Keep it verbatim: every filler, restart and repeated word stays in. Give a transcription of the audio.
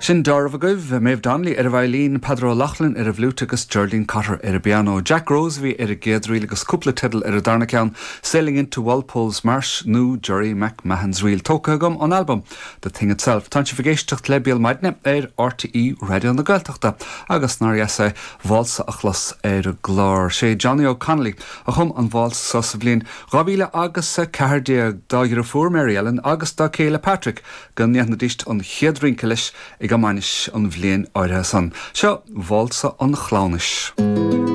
Sin dealbh agaibh Maeve Donnelly ar an veidhlín Peadar O'Loughlin ar an bhfliúit agus Geraldine Cotter ar an bpianó. Jack Rose bhí ar an gcéad ríl agus cúpla teideal ar an darna ceann Sailing into Walpole's Marsh nó Jerry McMahon's Reel tógtha agam ón album The Thing Itself. Tá sibh ag éisteacht le Béal Maidine ar RTÉ Raidió na Gaeltachta agus nár dheas é válsa a chlos ar an gclár sé Johnny O'Connolly a chum an válsa sa bhliain dhá mhíle agus a ceathair déag dá dheirfiúr Mary Ellen agus dá chéile Patrick go ndéanfaidís an chéad rince leis ag an mbainis an bhliain áirithe san. Seo válsa an chleamhnais.